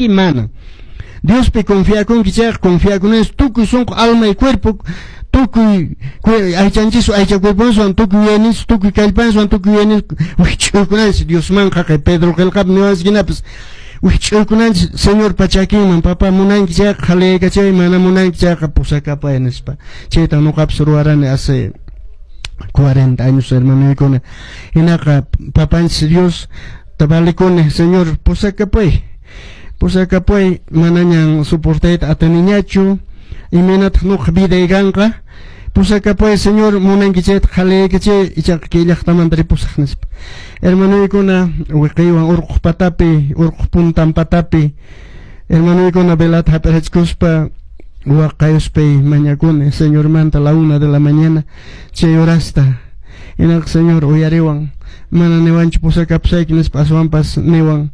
Atinki? Mana. Diospi confiakunki chayqa, confiakunanchis tukuy sunqu, alma y cuerpo, tukuy aychanchiswan, aycha cuerponchiswan, tukuy yuyayninchis, tukuy kallpanchiswan, tukuy yuyayninchis wikch'uykunanchis Diosmanqa. Kay Pedro qillqapi niwanchis hinapas wikch'uykunanchis Señorpa chakinman. Papá, munanki chayqa qhaliyaykachay, mana munanki chayqa pusakapay nispa. Chayta ñuqapas ruwarani hace 40 años, hermanoykuna. Hinaqa papanchis Dios valikuni, Señor, pusakapay, pusakapay, manañan soportayta atiniñachu, imaynataq ñuqa viday kanqa, pusakapay, Señor, munanki chayta qhaliyaykachay, ichaqa kay llaqtamanta ripusaq nispa. Hermanoykuna, wiqiywan urquq patapi, urquq puntan patapi, hermanoykuna, velata hap'irachkuspa waqayuspay mañakuni Señormanta la 1 de la mañana chay horasta. Hinaqa Señor uyariwan, mana niwanchu pusakapusayki nispa, aswanpas niwan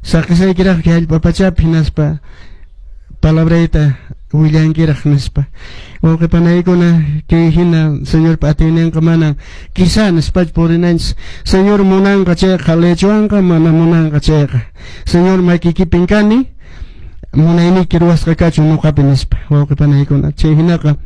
saqesaykiraq kay allpa pachapi hinaspa palabrayta willankiraq nispa. Wawqi panaykuna, kay hina Señorpa atiyninqa, manan quizá nispachu purinanchis. Señor munanqa chayqa qhaliyachiwanqa, mana munanqa chayqa, Señor, makiykipin kani, munayniyki ruwasqa kachun ñuqapi nispa, wawqi panaykuna. Chay hinaqa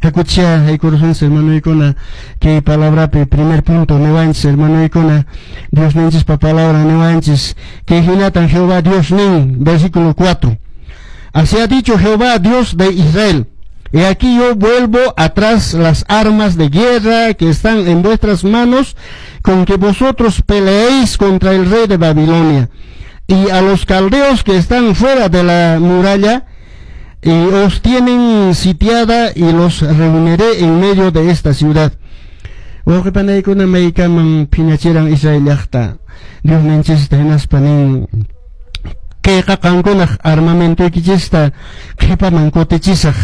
hakuchá haykurusunchis, hermanoykuna, kay palabrapi. Primer punto niwanchis, hermanoykuna, Diosninchispa palabra niwanchis kay hinatan Jehová Dios nin, versículo 4: "Así ha dicho Jehová, Dios de Israel: He aquí yo vuelvo atrás las armas de guerra que están en vuestras manos, con que vosotros peleéis contra el rey de Babilonia, y a los caldeos que están fuera de la muralla y os tienen sitiada, y los reuniré en medio de esta ciudad." Wawqi panaykuna, maykaman phiñachiran Israel llaqta Diosninchista, hinaspa nin: kayqa qankunaq armamentoykichista qhipaman kutichisaq,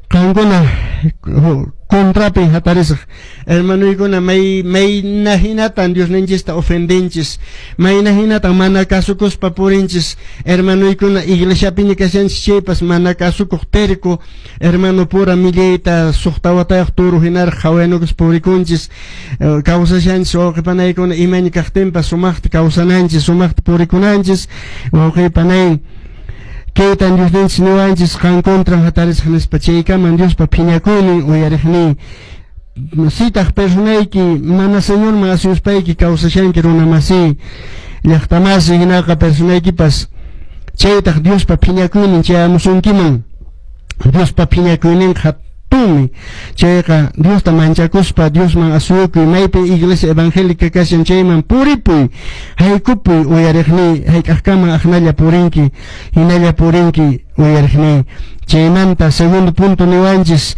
qankuna contrapi hatarisaq. Hermanoykuna, may mayna hinatan Diosninchista ofendinchis, mayna hinatan mana kasukuspa purinchis, hermanoykuna. Iglesiapiña kashanchis chaypas mana kasukuq, terco, hermano pura millayta suqta watayuq turu hinaraq qhawanukus purikunchis, kawsashanchis. Wawqi panaykuna, imaña kaqtinpas sumaqta kawsananchis, sumaqta purikunanchis, wawqi panay. Kaytan Diosninchis niwanchis: qan contran hatarisaq nispa. Chaykaman Diospa phiñakuynin uyariqnin. Sitaq personayki mana Señorman asuyuspayki kawsashanki, runa masi, llaqtamasi, hinaqa personaykipas chaytaq Diospa phiñakuynin chayamusunkiman. Diospa phiñakuyninqa hatunmi. Chayqa Diosta manchakuspa Diosman asuyukuy, maypi iglesia evangélica kashan chayman puripuy, haykupuy, uyariqniy. Hayk'aqkama aqnalla purinki, hinalla purinki, uyariqniy? Chaymanta segundo punto niwanchis,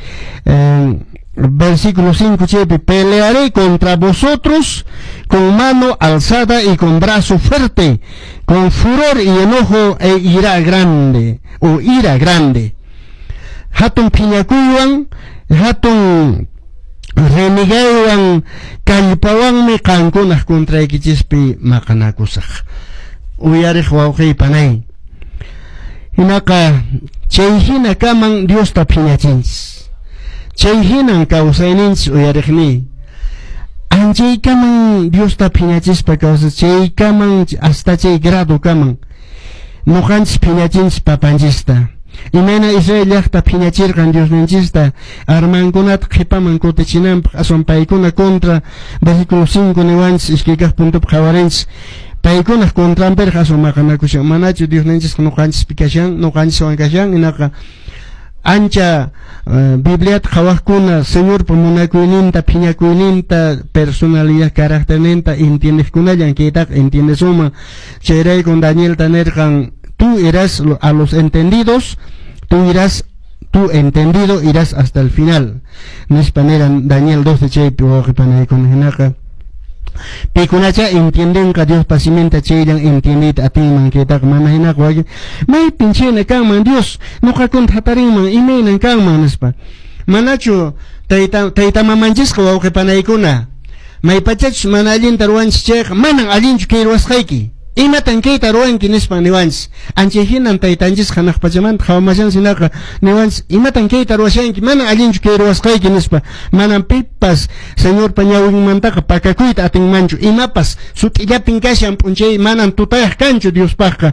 versículo 5 chaypi: "Pelearé contra vosotros con mano alzada y con brazo fuerte, con furor y enojo e ira grande o ira grande." Hatun phiñakuywan, hatun renegaywan, kallpawanmi qankunaq contraykichispi maqanakusaq, uyariq wawqiy panay. Hinaqa chay hina kaman Diosta phiñachinchis, chay hinan kawsayninchis, uyariqniy. Anchaykaman Diosta phiñachispa kawsay, chaykaman, hasta chay grado kaman ñuqanchis phiñachinchis papanchista. Imayna Israel llaqta phiñachirqan Diosninchista armankunata qhipaman kutichinanpaq, aswan paykuna contra. Versículo 5 niwanchis, iskay kaq puntopi qhawarinchis, paykunaq contranpiraq aswan maqanakushan. Manachu Diosninchisqa ñuqanchispi kashan, ñuqanchiswan kashan? Hinaqa ancha Bibliata qhawaqkuna, Señorpa munakuyninta, phiñakuyninta, personalidad, carácterninta entiendeqkunallan kaytaqa entiendesunman. Chayraykun Danielta nirqan: "Tú irás a los entendidos, tú irás, tú entendido irás hasta el final", nispa niran Daniel 12 chaypi, wawqi panaykuna. Hinaqa pikunacha entiendenqa Diospa siminta, chayllan entiendeyta atinman kaytaqa. Mana hinaqa wakin: maypin chayna kanman Dios ñuqakunta hatarinman, imaynan kanman nispa. Manachu tayta tayta mamanchisqa, wawqi panaykuna, maypachachus mana allinta ruwanchis chayqa, manan allinchu kay ruwasqayki, imatan kayta ruwanki nispa niwanchis? Anchay hinan taytanchisqa hanaq pachamanta qhawamashan, hinaqa niwanchis: imatan kayta ruwashanki, manan allinchu kay ruwasqayki nispa. Manan pipas Señorpa ñawinmantaqa pakakuyta atinmanchu, imapas sut'illapin kashan, p'unchay manan tutayaq kanchu Diospaqqa.